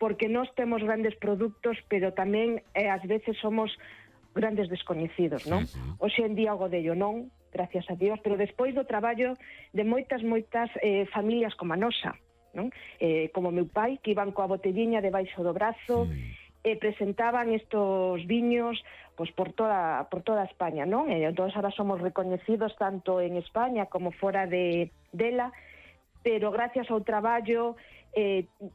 porque nós temos grandes produtos, pero tamén ás veces somos grandes descoñecidos, non? Hoxe en día o godello non, gracias a Dios, pero despois do traballo de moitas familias como a nosa, non? Como meu pai, que iban coa botelliña debaixo do brazo, presentaban estos viños pues, por toda España, non? Entón, ahora somos recoñecidos tanto en España como fora dela, pero gracias ao traballo,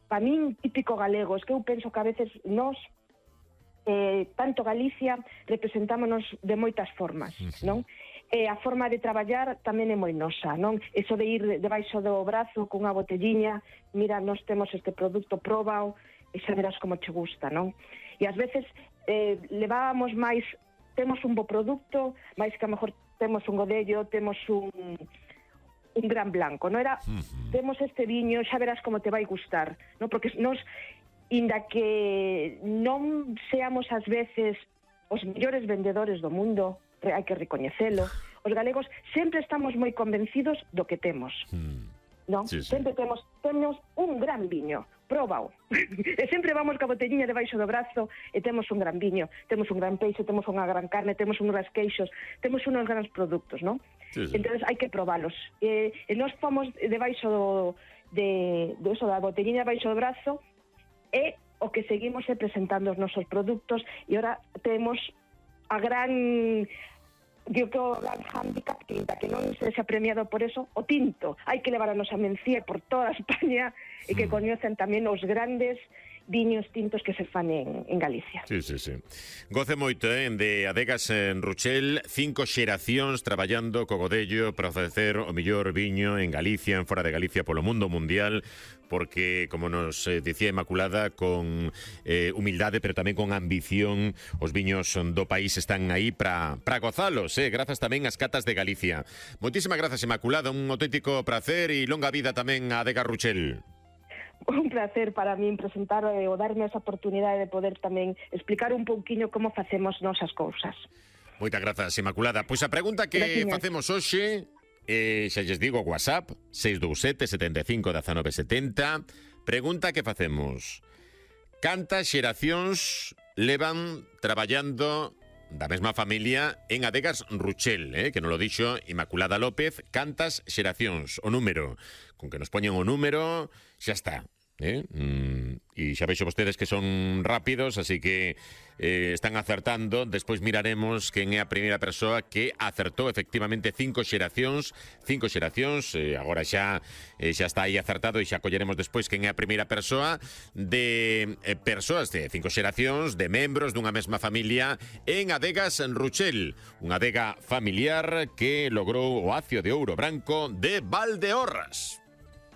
para min, típico galego, es que eu penso que a veces nós, tanto Galicia, representámonos de moitas formas, non? A forma de traballar tamén é moi nosa, non? Eso de ir debaixo do brazo cunha botelliña, mira, nós temos este produto, próbao, e xa verás como che gusta, non? E ás veces levábamos máis, temos un bo produto, máis que a mellor temos un godello, temos un gran blanco, non era? Temos este viño, xa verás como te vai gustar, non? Porque nós, inda que non seamos ás veces os mellores vendedores do mundo, hai que recoñecelo, os galegos sempre estamos moi convencidos do que temos, non? Sí. Sempre temos un gran viño, próbao. E sempre vamos ca botelliña debaixo do brazo e temos un gran viño, temos un gran peixe, temos unha gran carne, temos uns grandes queixos, temos uns grandes produtos, non? Sí. Entón hai que probalos. E nós fomos debaixo da botelliña debaixo do brazo e o que seguimos é presentando os nosos produtos e ora temos a gran... Digo que o gran handicap, que non se xa premiado por eso, o tinto. Hai que levar a nosa mencía por toda España e que coñecen tamén os grandes viños tintos que se fan en Galicia. Sí. Goce moito, de Adegas en Ruchel, 5 xeracións traballando co godello para ofrecer o mellor viño en Galicia, en fora de Galicia, polo mundo mundial, porque, como nos dicía Inmaculada, con humildade, pero tamén con ambición, os viños do país están aí para gozalos, grazas tamén ás catas de Galicia. Moitísimas grazas, Inmaculada, un auténtico placer e longa vida tamén a Adegas Ruchel. Un placer para min presentar ou darme esa oportunidade de poder tamén explicar un pouquiño como facemos nosas cousas. Moitas grazas, Inmaculada. Pois a pregunta que facemos hoxe, xa lles digo, WhatsApp 627 75 19 70. Pregunta que facemos: cantas xeracións levan traballando da mesma familia en Adegas Ruchel, que nos lo dixo Inmaculada López? Cantas xeracións, o número, con que nos poñen o número, xa está. E xa veixo vostedes que son rápidos, así que están acertando. Despois miraremos quen é a primeira persoa que acertou efectivamente 5 xeracións. Agora xa está aí acertado e xa colleremos despois quen é a primeira persoa de persoas de 5 xeracións, de membros dunha mesma familia en Adegas en Ruchel, unha adega familiar que logrou o Acio de Ouro Branco de Valdeorras.